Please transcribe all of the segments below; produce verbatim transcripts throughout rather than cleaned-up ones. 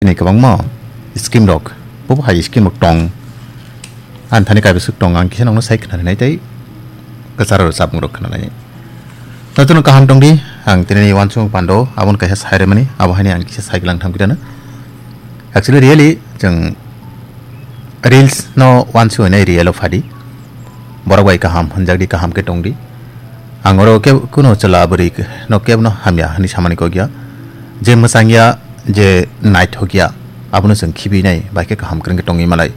Ni kwbangma scheme rok, bobo hai scheme rok tong. Ang thani kaibaswk tong, ang kisa nokno sai khna rinai tei kwcharo rwchapmung rok khna lainai. Jotono kaham tong di, ang tini ni uansukmung pando, aboni kaisa sai rwmani, abo haini ang kisa sai glang thang kidana. Actually, really, chwng reels no uansuk hwnwi real o phadi. Borok bai kaham hwnjak di, kaham khe tong di. Ang oro kebo kuno chwla bwrwi no kebo no hamya hwnwi samani kok ya. Je mwchang ya, je naithok ya, abono chwng khibi nai, bai khe kaham kwrwng khe tongwi malai.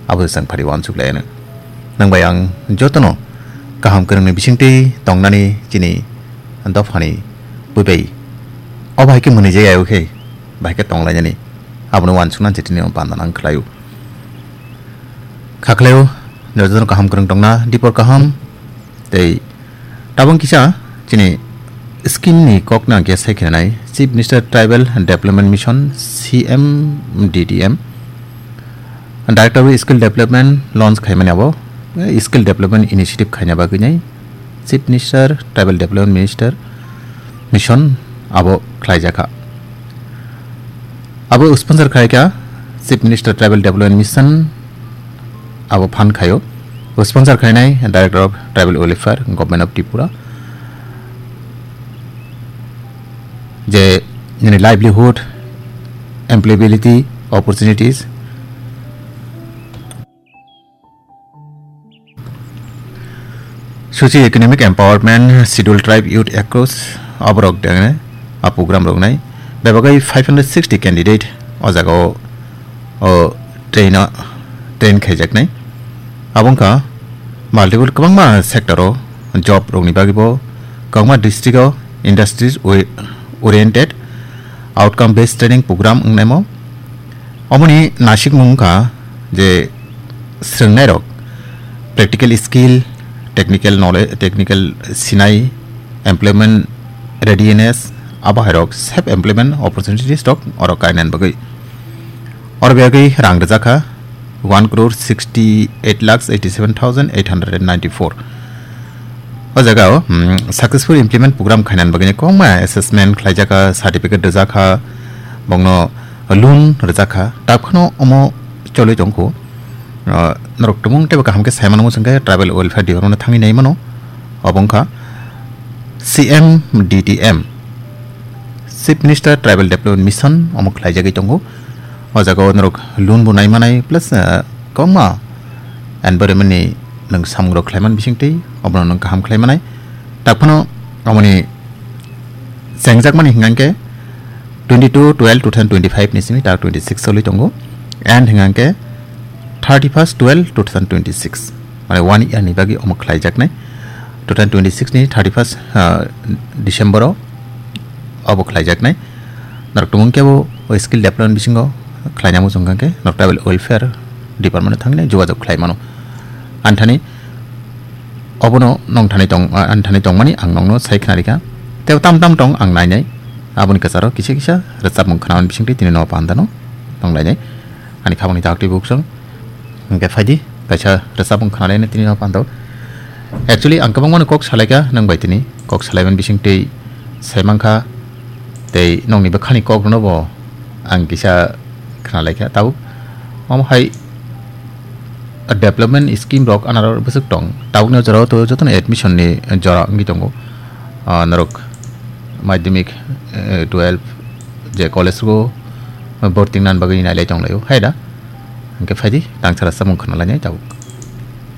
Abo chwng phari uansuk lai ano. Nwng bai ang jotono kaham kwrwngni bisingtwi tongnani chini dophani bwbai. O bai khe mwnwi je ayo khe, bai khe tong lainani. Abono uansukna je tini o panda nang khlaio. Kha khlaio, jotono kaham kwrwng tongna, dipor kaham, tei tabang kisa chini scheme ni kok nang khe sai khenai, Chief Minister Tribal Development Mission, C M D D M, Director of Skill Development launch khaimani abo, eh, Skill Development Initiative khaina bagwi nai, Chief Minister, Tribal Development Minister Mission abo khlaijakha. Abo sponsor khaikha Chief Minister Tribal Development Mission, abo fund khaio. Bo sponsor khainai Director of Tribal Welfare, Government of Tripura. Je nini livelihood, employability, opportunities, Socio-economic empowerment, Scheduled Tribe youth across, aborok dene a program rok nai. Bebagwi five hundred sixty candidate o jaga o, o train o, train khaijaknai. Abo wngkha multiple kwbangma sector o job rokni bagwi bo kwbangma district o industries ori-, oriented outcome based training program wngnaimo. Omoni nasikmung wngkha je swrwngnairok practical skill, technical knowledge, technical sinai, employment readiness, abo hairok self employment opportunities rok oro kainan bagwi. Oro bagwi rang rwjakha one crore sixty eight lakhs eighty seven thousand eight hundred and ninety four. O jaga o, hmm, successful implement program khainan bagwi kwbangma assessment khlaijakha, certificate rwjakha, bongno loan rwjakha, tak phano omo cholwi tongkho. Ah, norok tumung teibo kaham khe sai mano, chwngkhe Tribal Welfare Department thangwi nai mano. Obo wngkha C M D D M, Chief Minister Tribal Development Mission, omo khlaijagwi tongo. O jaga o norok loan bo nai manai, plus, ah, kwbangma environment ni nwng samung rok khlaiman bisingtwi obono nwng kaham khlai manai. Tak phano omoni chengjakmani hingkha khe twenty two twelve two thousand twenty five ni simi tak twenty six choli tongo, and hingkha khe thirty first twelve two thousand twenty six, mane one year ni bagwi omo khlaijaknai. Two thousand twenty six ni thirty first, ah, December o obo khlaijaknai. Norok tumung kebo o skill development bisingo khlaina muchung kha khe norok Tribal Welfare Department o thangwi jogajog khlai mano. Ani thani obono nong thani tong, ah, ani thani tongmani ang nongno sai khna rikha. Tei tam tam tong ang nainai. Aboni kwcharo kisa kisa rwchapmung khnaman bisingtwi tini no pandano tong lainai. Ani khabangni daktwi buksong. Hingke phaidi, kaisa rwchapmung khna lainai tini no pando. Actually, ang kwbangmano kok salaikha, nwng bai tini kok salaiman bisingtwi sai mankha, tei nongni bwkhani kok rwno bo ang kisa khna laikha. Tabuk omo hai development scheme rok anaro bwswk tong. Tabukni o jorao to jotono admission ni jora wngwi tongo. Ah, norok madhyamik, eh, twelve je college o borti wngna bagwi nailai tonglaio. Hai da? Hingke phaidi, tang sara samung khna lainai tabuk.